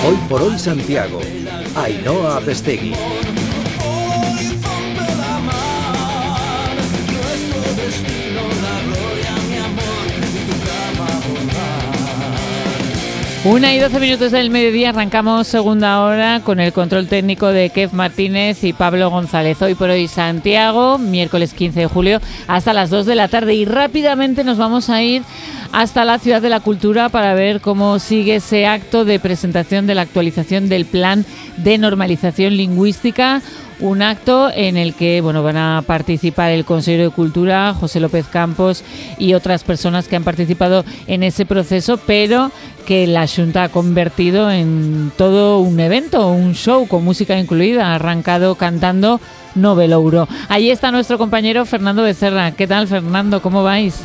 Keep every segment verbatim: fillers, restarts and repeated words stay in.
Hoy por hoy Santiago, Ainhoa Apestegui. Una y doce minutos del mediodía, arrancamos segunda hora con el control técnico de Kev Martínez y Pablo González. Hoy por hoy Santiago, miércoles quince de julio, hasta las dos de la tarde. Y rápidamente nos vamos a ir hasta la Ciudad de la Cultura para ver cómo sigue ese acto de presentación de la actualización del Plan de Normalización Lingüística. Un acto en el que bueno, van a participar el consejero de Cultura, José López Campos, y otras personas que han participado en ese proceso, pero que la Xunta ha convertido en todo un evento, un show con música incluida. Ha arrancado cantando Novelouro. Allí está nuestro compañero Fernando Becerra. ¿Qué tal, Fernando? ¿Cómo vais?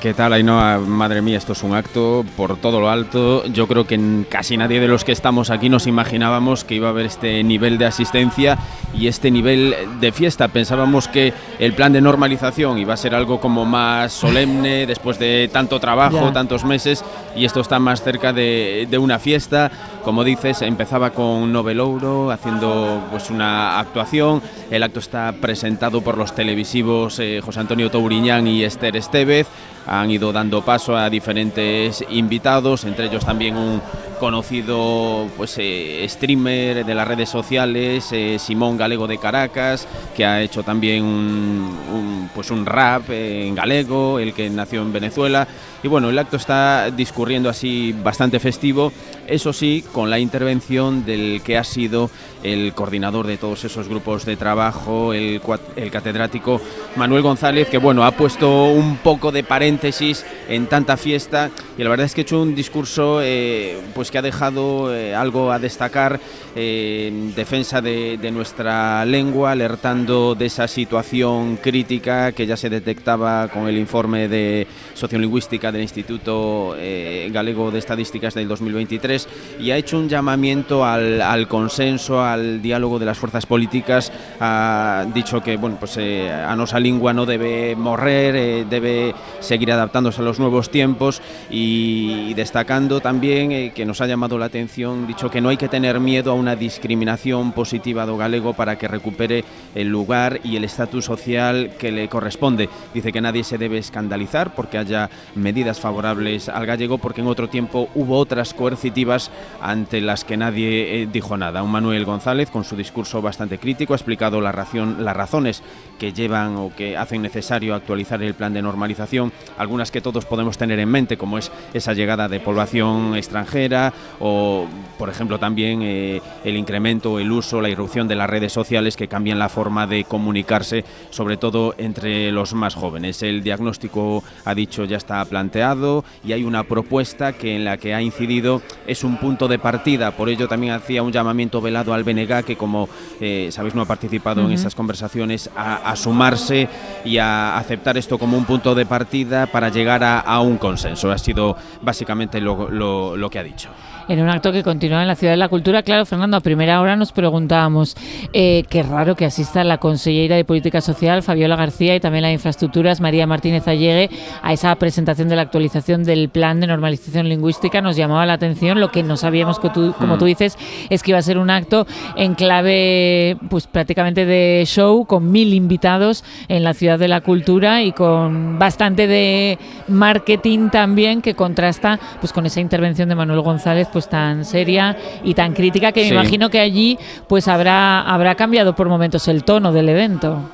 ¿Qué tal, Ainhoa? Madre mía, esto es un acto por todo lo alto. Yo creo que casi nadie de los que estamos aquí nos imaginábamos que iba a haber este nivel de asistencia y este nivel de fiesta. Pensábamos que el plan de normalización iba a ser algo como más solemne después de tanto trabajo, ya. tantos meses, y esto está más cerca de, de una fiesta. Como dices, empezaba con Novelouro haciendo pues una actuación. El acto está presentado por los televisivos eh, José Antonio Touriñán y Esther Estevez. Han ido dando paso a diferentes invitados, entre ellos también un conocido pues eh, streamer de las redes sociales, eh, Simón Galego de Caracas, que ha hecho también un, un, pues un rap eh, en galego, el que nació en Venezuela. Y bueno, el acto está discurriendo así bastante festivo, eso sí, con la intervención del que ha sido el coordinador de todos esos grupos de trabajo, el, el catedrático Manuel González, que bueno, ha puesto un poco de paréntesis en tanta fiesta, y la verdad es que ha hecho un discurso eh, pues que ha dejado eh, algo a destacar eh, en defensa de, de nuestra lengua, alertando de esa situación crítica que ya se detectaba con el informe de sociolingüística del Instituto eh, Galego de Estadísticas del dos mil veintitrés, y ha hecho un llamamiento al, al consenso, al diálogo de las fuerzas políticas. Ha dicho que bueno, pues eh, a nosa lingua no debe morrer, eh, debe seguir adaptándose a los nuevos tiempos, y, y destacando también eh, que nos ha llamado la atención, dicho que no hay que tener miedo a una discriminación positiva do galego para que recupere el lugar y el estatus social que le corresponde. Dice que nadie se debe escandalizar porque haya medidas favorables al gallego, porque en otro tiempo hubo otras coercitivas ante las que nadie eh, dijo nada. Un Manuel González, con su discurso bastante crítico, ha explicado la razón, las razones que llevan o que hacen necesario actualizar el plan de normalización, algunas que todos podemos tener en mente, como es esa llegada de población extranjera o, por ejemplo, también eh, el incremento, el uso, la irrupción de las redes sociales que cambian la forma de comunicarse, sobre todo entre los más jóvenes. El diagnóstico, ha dicho, ya está planteado y hay una propuesta que en la que ha incidido es un punto de partida. Por ello también hacía un llamamiento velado al B N G, que como eh, sabéis no ha participado uh-huh. en esas conversaciones, a, a sumarse y a aceptar esto como un punto de partida para llegar a, a un consenso. Ha sido básicamente lo, lo, lo que ha dicho. En un acto que continúa en la Ciudad de la Cultura. Claro, Fernando, a primera hora nos preguntábamos eh, qué raro que asista la consellera de Política Social, Fabiola García, y también la de Infraestructuras, María Martínez Allegue, a esa presentación de la actualización del Plan de Normalización Lingüística. Nos llamaba la atención. Lo que no sabíamos, que tú, como tú dices, es que iba a ser un acto en clave pues prácticamente de show, con mil invitados en la Ciudad de la Cultura y con bastante de marketing también, que contrasta pues con esa intervención de Manuel González pues tan seria y tan crítica, que me sí. imagino que allí pues habrá habrá cambiado por momentos el tono del evento.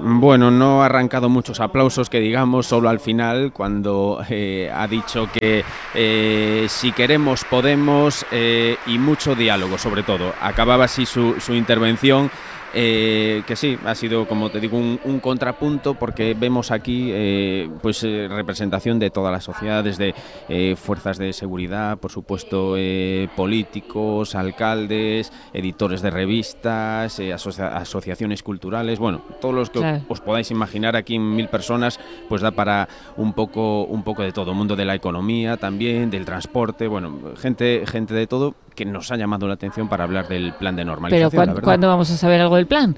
Bueno, no ha arrancado muchos aplausos, que digamos, solo al final, cuando eh, ha dicho que eh, si queremos podemos, eh, y mucho diálogo sobre todo. Acababa así su, su intervención. Eh, que sí, ha sido, como te digo, un, un contrapunto, porque vemos aquí eh, pues eh, representación de toda la sociedad, desde eh, fuerzas de seguridad, por supuesto, eh, políticos, alcaldes, editores de revistas, eh, asocia- asociaciones culturales, bueno, todos los que claro. os podáis imaginar. Aquí en mil personas, pues da para un poco, un poco de todo, mundo de la economía también, del transporte, bueno, gente, gente de todo, que nos ha llamado la atención para hablar del plan de normalización. Pero ¿cuándo, ¿cuándo vamos a saber algo del plan?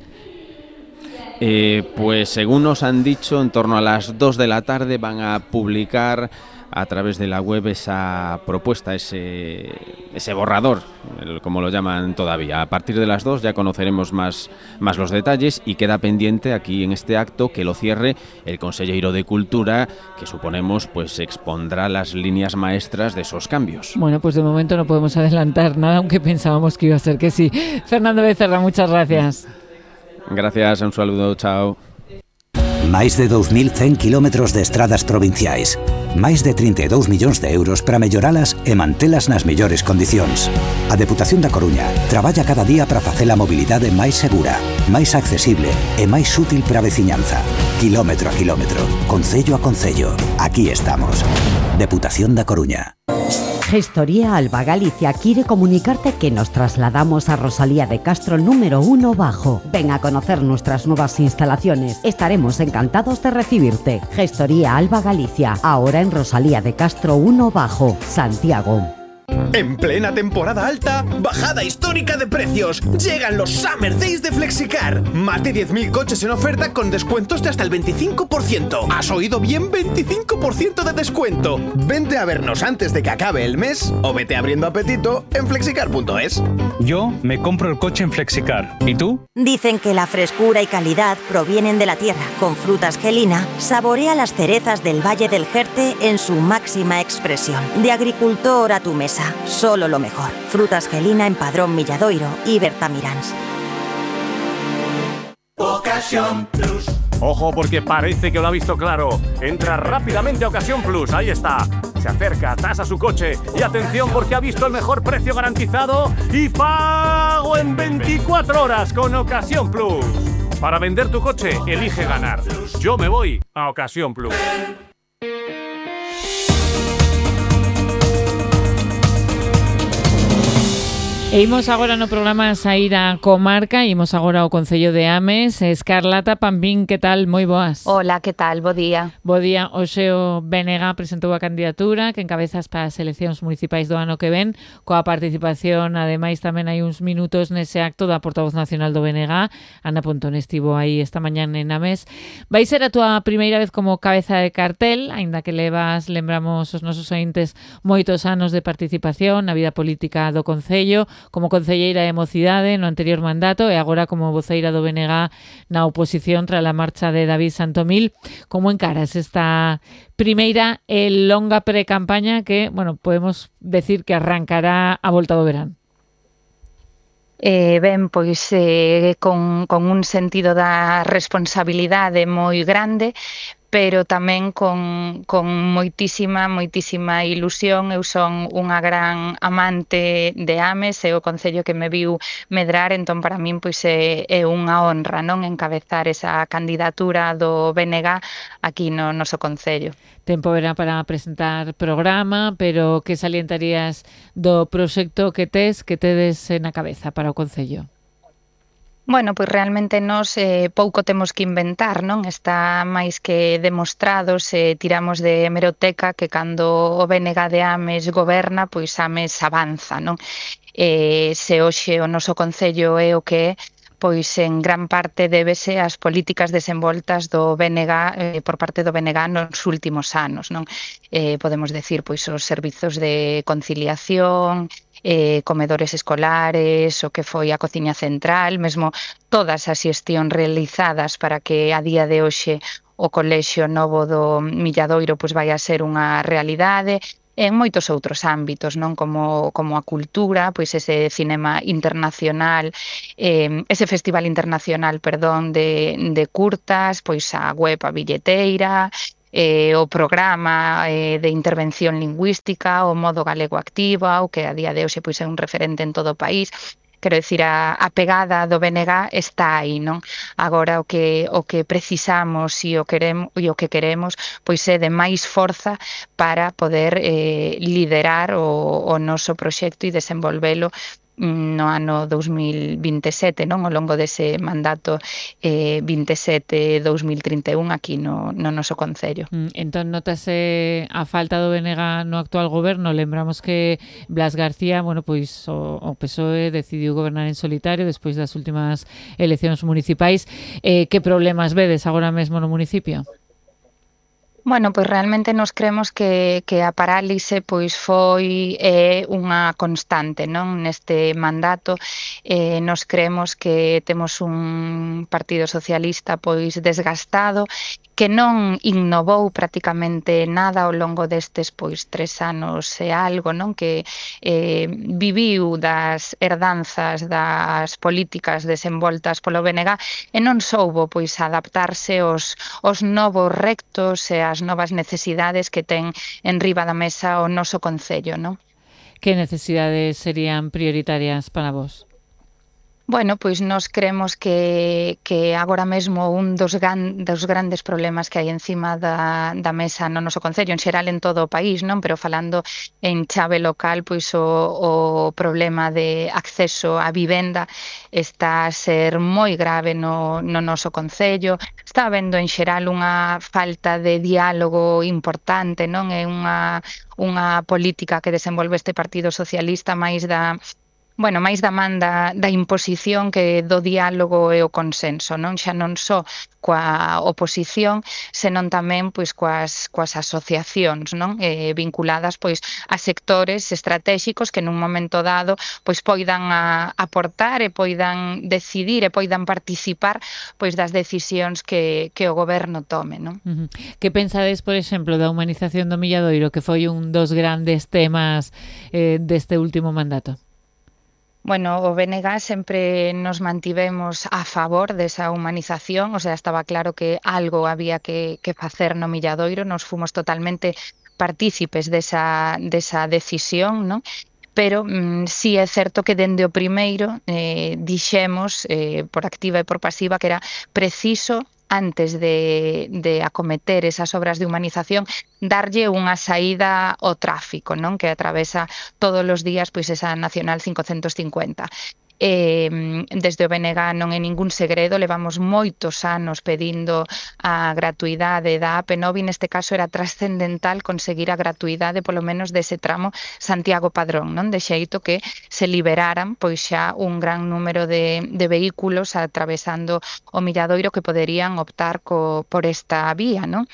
Eh, pues según nos han dicho, en torno a las dos de la tarde van a publicar a través de la web esa propuesta, ese, ese borrador, como lo llaman todavía. A partir de las dos ya conoceremos más, más los detalles y queda pendiente aquí en este acto que lo cierre el Conselleiro de Cultura, que suponemos pues expondrá las líneas maestras de esos cambios. Bueno, pues de momento no podemos adelantar nada, aunque pensábamos que iba a ser que sí. Fernando Becerra, muchas gracias. Gracias, un saludo, chao. Máis de dous mil cen quilómetros de estradas provinciais. Máis de trinta e dous millóns de euros para melloralas e mantelas nas mellores condicións. A Deputación da Coruña traballa cada día para facer a mobilidade máis segura, máis accesible e máis útil para a veciñanza. Quilómetro a quilómetro, concello a concello. Aquí estamos. Deputación da Coruña. Gestoría Alba Galicia quiere comunicarte que nos trasladamos a Rosalía de Castro número uno Bajo. Ven a conocer nuestras nuevas instalaciones. Estaremos encantados de recibirte. Gestoría Alba Galicia, ahora en Rosalía de Castro uno Bajo, Santiago. En plena temporada alta, bajada histórica de precios. Llegan los Summer Days de Flexicar. Más de diez mil coches en oferta con descuentos de hasta el veinticinco por ciento. ¿Has oído bien? veinticinco por ciento de descuento. Vente a vernos antes de que acabe el mes o vete abriendo apetito en flexicar punto es. Yo me compro el coche en Flexicar. ¿Y tú? Dicen que la frescura y calidad provienen de la tierra. Con Frutas Gelina, saborea las cerezas del Valle del Jerte en su máxima expresión. De agricultor a tu mesa. Solo lo mejor. Frutas Gelina en Padrón Milladoiro y Bertamiráns. Ocasión Plus. Ojo, porque parece que lo ha visto claro. Entra rápidamente a Ocasión Plus. Ahí está. Se acerca, tasa su coche. Y atención, porque ha visto el mejor precio garantizado y pago en veinticuatro horas con Ocasión Plus. Para vender tu coche, elige ganar. Yo me voy a Ocasión Plus. E imos agora no programa a sair a comarca, imos agora ao Concello de Ames. Escarlata Pambín, que tal? Moi boas. Hola, que tal? Bo día. Bo día. Hoxe o B N G presentou a candidatura que encabezas para as eleccións municipais do ano que ven, coa participación, ademais tamén hai uns minutos nese acto da portavoz nacional do B N G, Ana Pontón, estivo aí esta mañán en Ames. Vai ser a túa primeira vez como cabeza de cartel, aínda que levas, lembramos os nosos ointes, moitos anos de participación na vida política do Concello, como concelleira de Mocidade no anterior mandato e agora como voceira do B N G na oposición tras a marcha de David Santomil. Como encaras esta primeira e longa pre-campaña que, bueno, podemos decir que arrancará a volta do verán? Eh, ben, pois eh, con, con un sentido da responsabilidade moi grande, pero tamén con, con moitísima, moitísima ilusión. Eu son unha gran amante de Ames, é o concello que me viu medrar, entón para min pois é, é unha honra, non, encabezar esa candidatura do B N G aquí no noso concello. Tempo verá para presentar programa, pero que salientarías do proxecto que tes, que tedes na cabeza para o concello? Bueno, pois realmente nós eh, pouco temos que inventar, non? Está máis que demostrado se tiramos de hemeroteca que cando o B N G de Ames goberna, pois Ames avanza, non? Eh, se hoxe o noso concello é o que é, pois en gran parte débese ás políticas desenvoltas do B N G eh, por parte do B N G nos últimos anos, non? Eh, podemos decir, pois os servizos de conciliación, eh, comedores escolares, o que foi a cociña central, mesmo todas as xestións realizadas para que a día de hoxe o colexio novo do Milladoiro pois vai a ser unha realidade, en moitos outros ámbitos, non, como como a cultura, pois ese cinema internacional, eh, ese festival internacional, perdón, de de curtas, pois a web, a billeteira, eh, o programa eh, de intervención lingüística, o modo galego activa, o que a día de hoxe pois é un referente en todo o país. Quero dicir, a, a pegada do B N G está aí, non? Agora o que o que precisamos e o queremos e o que queremos pois é de máis forza para poder eh, liderar o, o noso proxecto e desenvolvelo no ano dous mil vinte e sete, non? Ao longo dese mandato eh, vinte e sete a dous mil trinta e un aquí no, no noso concello. Mm, entón, notase a falta do B N G no actual goberno. Lembramos que Blas García, bueno, pois o, o P S O E decidiu gobernar en solitario despois das últimas eleccións municipais. Eh, que problemas vedes agora mesmo no municipio? Bueno, pois realmente nos cremos que, que a parálise pois foi eh, unha constante, non, neste mandato. Eh, nos cremos que temos un Partido Socialista pois desgastado, que non innovou prácticamente nada ao longo destes pois tres anos e algo, non, que eh, viviu das herdanzas das políticas desenvoltas polo B N G e non soubo pois adaptarse aos, aos novos rectos e as novas necesidades que ten en riba da mesa o noso concello, non? Que necesidades serían prioritarias para vos? Bueno, pois nos cremos que, que agora mesmo un dos, gan, dos grandes problemas que hai encima da, da mesa no noso concello, en xeral en todo o país, non? Pero falando en chave local, pois o, o problema de acceso á vivenda está a ser moi grave no, no noso concello. Está habendo en xeral unha falta de diálogo importante, non? É unha, unha política que desenvolve este Partido Socialista máis da Bueno, máis da man da, da imposición que do diálogo e o consenso, non? Xa non só coa oposición, senón tamén pois coas, coas asociacións, non? Eh, vinculadas pois a sectores estratéxicos que nun momento dado pois poidan a, aportar e poidan decidir e poidan participar pois das decisións que, que o goberno tome, non? Uh-huh. Que pensades, por exemplo, da humanización do Milladoiro, que foi un dos grandes temas eh, deste último mandato? Bueno, o B N G sempre nos mantivemos a favor desa humanización, o sea, estaba claro que algo había que, que facer no Milladoiro, nos fomos totalmente partícipes desa, desa decisión, non? Pero mm, sí é certo que dende o primeiro eh, dixemos, eh, por activa e por pasiva, que era preciso antes de, de acometer esas obras de humanización, darlle unha saída ao tráfico, non? Que atravesa todos os días pois esa Nacional cincocentos cincuenta. Eh, desde o B N G non é ningún segredo, levamos moitos anos pedindo a gratuidade da A P nove e neste caso era trascendental conseguir a gratuidade polo menos dese tramo Santiago-Padrón, non? De xeito que se liberaran pois xa un gran número de, de vehículos atravesando o Milladoiro que poderían optar co, por esta vía, non?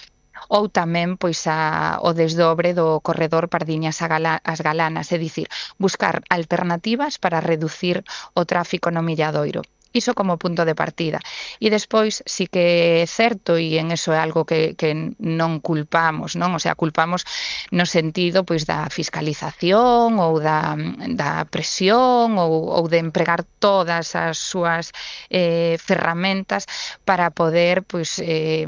Ou tamén pois a, o desdobre do corredor Pardiñas a Gala, as Galanas, é dicir, buscar alternativas para reducir o tráfico no Milladoiro. Iso como punto de partida. E despois sí que é certo, e en eso é algo que, que non culpamos, non? O sea, culpamos no sentido pois da fiscalización ou da, da presión ou, ou de empregar todas as súas eh, ferramentas para poder pois eh,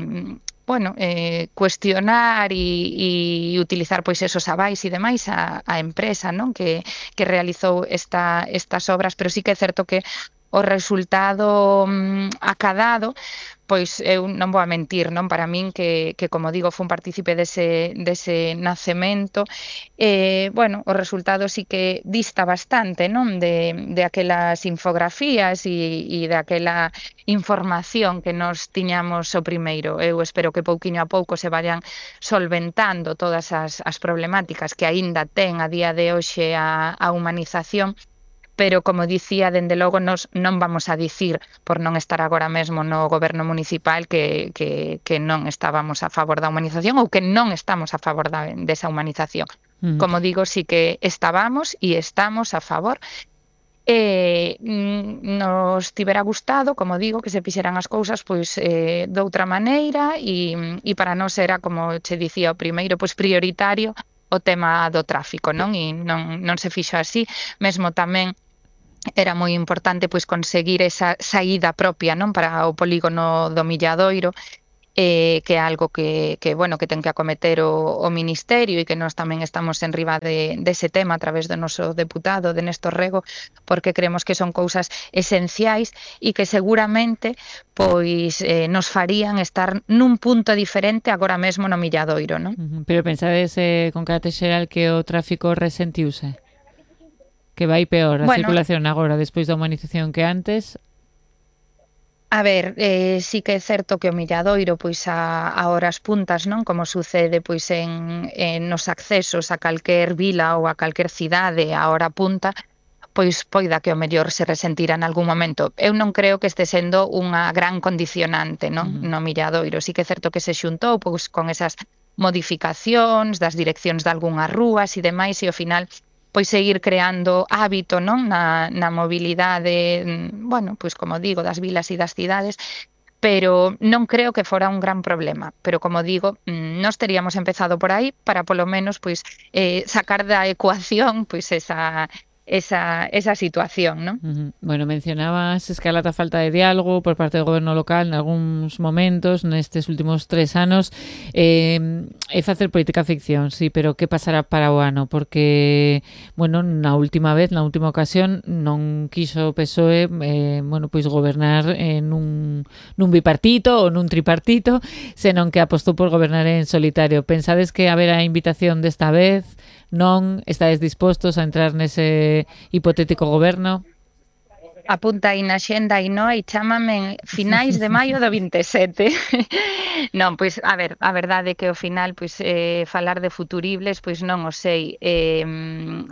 bueno, eh, cuestionar e, e utilizar pois esos avais e demais a, a empresa, non? Que, que realizou esta, estas obras, pero sí que é certo que o resultado mm, acadado, pois eu non vou a mentir, non? Para min que, que como digo, fun partícipe dese, dese nacemento, eh, bueno, o resultado sí que dista bastante, non? De, de aquelas infografías e, e de aquela información que nos tiñamos o primeiro. Eu espero que pouquiño a pouco se vayan solventando todas as, as problemáticas que aínda ten a día de hoxe a, a humanización, pero, como dicía, dende logo nos non vamos a dicir, por non estar agora mesmo no goberno municipal, que, que, que non estábamos a favor da humanización ou que non estamos a favor da, desa humanización. Mm. Como digo, sí que estábamos e estamos a favor. E nos tivera gustado, como digo, que se fixeran as cousas pois eh, doutra maneira e, e para nós era, como che dicía o primeiro, pois prioritario o tema do tráfico, non? E non, non se fixo así, mesmo tamén era moi importante pois conseguir esa saída propia, non? Para o polígono do Milladoiro, eh, que é algo que, que, bueno, que ten que acometer o, o Ministerio e que nós tamén estamos en riba de, dese tema a través do noso deputado, de Néstor Rego, porque creemos que son cousas esenciais e que seguramente pois eh, nos farían estar nun punto diferente agora mesmo no Milladoiro, non? Pero pensades eh, con carácter xeral que o tráfico resentiuse? Que vai peor a bueno, circulación agora despois da humanización que antes? A ver, eh, sí que é certo que o Milladoiro pois a, a horas puntas, non? Como sucede pois en, en nos accesos a calquer vila ou a calquer cidade a hora punta, pois poida que o mellor se resentira en algún momento. Eu non creo que este sendo unha gran condicionante, non? Uh-huh. No Milladoiro. Sí que é certo que se xuntou pois con esas modificacións das direccións de algunhas rúas e demais, e ao final pois seguir creando hábito, non, na, na mobilidade, bueno, pois como digo, das vilas e das cidades, pero non creo que fora un gran problema. Pero como digo, nós teríamos empezado por aí para polo menos pois eh, sacar da ecuación pois esa esa esa situación, non? Uh-huh. Bueno, mencionabas escalata falta de diálogo por parte do goberno local en algúns momentos nestes últimos tres anos. Eh, é facer política ficción, sí, pero que pasará para o ano? Porque, bueno, na última vez, na última ocasión, non quiso o P S O E, eh, bueno, pois gobernar en un, nun bipartito ou nun tripartito, senón que apostou por gobernar en solitario. Pensades que haberá invitación desta vez? Non estades dispostos a entrar nese hipotético goberno? Apunta aí na xenda e non, e chámame finais de maio do vinte e sete. Non, pois, a ver, a verdade é que ao final, pois, eh, falar de futuribles, pois non o sei, eh,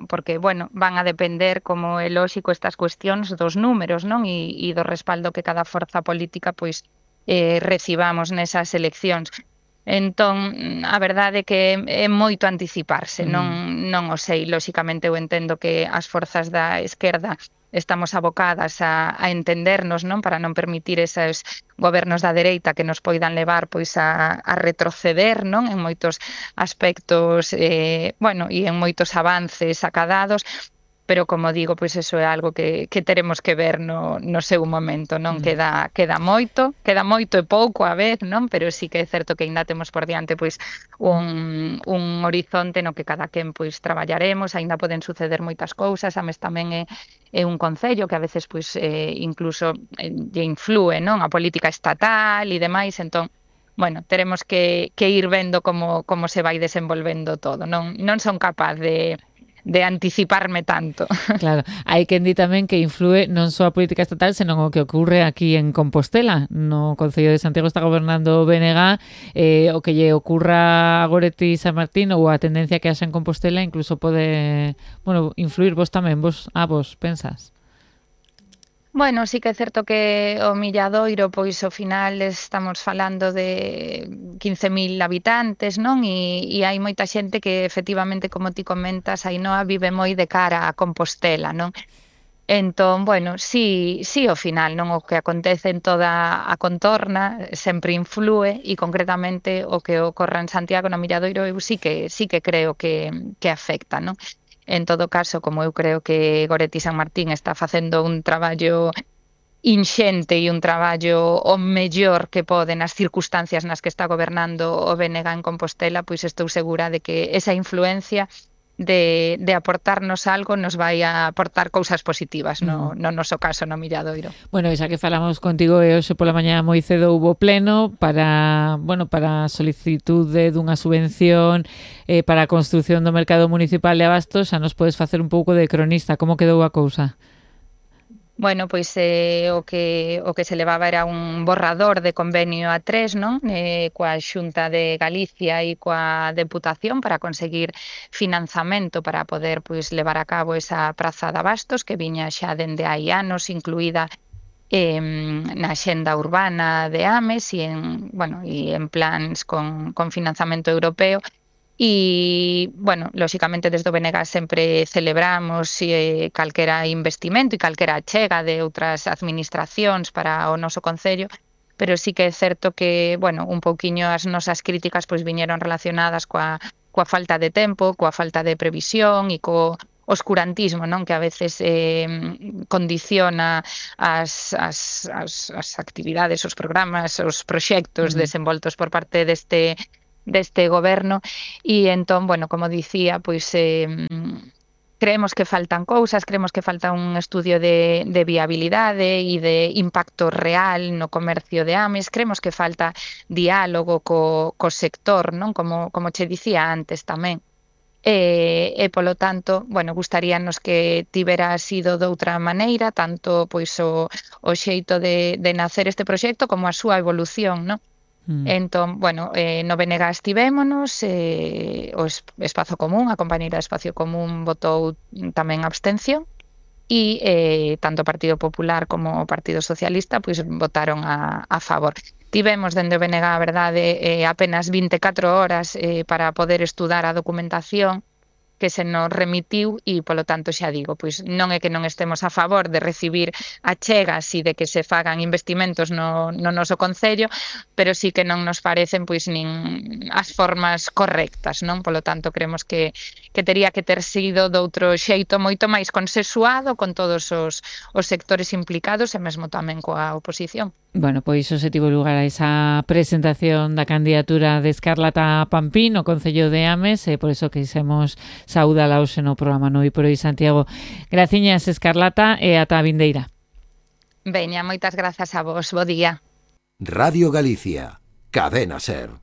porque, bueno, van a depender, como é lóxico, estas cuestións dos números, non? E, e do respaldo que cada forza política, pois, eh, recibamos nesas eleccións. Entón, a verdade é que é moito anticiparse, non, non o sei. Lóxicamente eu entendo que as forzas da esquerda estamos abocadas a, a entendernos, non, para non permitir esos gobernos da dereita que nos poidan levar pois a, a retroceder, non, en moitos aspectos, eh, bueno, e en moitos avances acadados. Pero, como digo, pois eso é algo que, que teremos que ver no, no seu momento, non? Mm. Queda, queda moito, queda moito e pouco a vez, non? Pero sí que é certo que ainda temos por diante pois un, un horizonte no que cada quen pois traballaremos, ainda poden suceder moitas cousas, a mes tamén é, é un concello que a veces pois eh, incluso eh, lle influe, non? A política estatal e demais, entón, bueno, teremos que, que ir vendo como, como se vai desenvolvendo todo, non? Non son capaz de de anticiparme tanto. Claro, hai quen di tamén que influe non só a política estatal, senón o que ocurre aquí en Compostela. No Concello de Santiago está gobernando o B N G, eh, o que lle ocurra a Goretti San Martín ou a tendencia que haxa en Compostela incluso pode, bueno, influir vos tamén, vos a vos pensas? Bueno, sí que é certo que o Milladoiro, pois ao final estamos falando de quince mil habitantes, non? E, e hai moita xente que efectivamente, como ti comentas, Ainhoa, vive moi de cara a Compostela, non? Entón, bueno, sí, sí ao final, non? O que acontece en toda a contorna sempre influe e concretamente o que ocorre en Santiago, no Milladoiro, eu sí que, sí que creo que, que afecta, non? En todo caso, como eu creo que Goretti San Martín está facendo un traballo inxente e un traballo o mellor que pode nas circunstancias nas que está gobernando o B N G en Compostela, pois estou segura de que esa influencia de, de aportarnos algo nos vai a aportar cousas positivas no, no noso caso no Milladoiro. Bueno, xa que falamos contigo e hoxe pola mañá moi cedo hubo pleno para, bueno, para a solicitude dunha subvención eh, para a construción do mercado municipal de abastos. Xa nos podes facer un pouco de cronista, como quedou a cousa? Bueno, pois eh, o que o que se levaba era un borrador de convenio a tres, non? Eh, coa Xunta de Galicia e coa Deputación para conseguir financiamento para poder pois levar a cabo esa praza de abastos que viña xa dende hai anos incluída eh, na xenda urbana de Ames e en, bueno, e en plans con, con financiamento europeo. E, bueno, lóxicamente desde o B N G sempre celebramos eh, calquera investimento e calquera chega de outras administracións para o noso concello, pero sí que é certo que, bueno, un pouquiño as nosas críticas pois viñeron relacionadas coa, coa falta de tempo, coa falta de previsión e co oscurantismo, non? Que a veces eh, condiciona as, as, as, as actividades, os programas, os proxectos uh-huh. desenvoltos por parte deste deste goberno e entón, bueno, como dicía, pois eh, creemos que faltan cousas, creemos que falta un estudio de, de viabilidade e de impacto real no comercio de Ames, creemos que falta diálogo co, co sector, non? Como, como che dicía antes tamén. E, e polo tanto, bueno, gustaríanos que tivera sido de outra maneira, tanto pois o, o xeito de, de nacer este proxecto como a súa evolución, non? Mm. Entón, bueno, eh, no B N G estivémonos, eh, o Espazo Común, a compañeira de Espacio Común votou tamén abstención, e eh, tanto o Partido Popular como o Partido Socialista pois votaron a, a favor. Tivemos dende o B N G, a verdade, eh, apenas vinte e catro horas eh, para poder estudar a documentación que se nos remitiu e, polo tanto, xa digo, pois non é que non estemos a favor de recibir achegas e de que se fagan investimentos no, no noso concello, pero sí que non nos parecen pois nin as formas correctas, non? Polo tanto, creemos que, que tería que ter sido doutro xeito moito máis consensuado con todos os, os sectores implicados e mesmo tamén coa oposición. Bueno, pois iso se tivo lugar a esa presentación da candidatura de Escarlata Pampín no Concello de Ames, e por iso quixemos saúdala hoxe no programa Noi por Hoy Santiago. Graciñas, Escarlata, e ata a vindeira. Veña, moitas grazas a vos, bo día. Radio Galicia, Cadena Ser.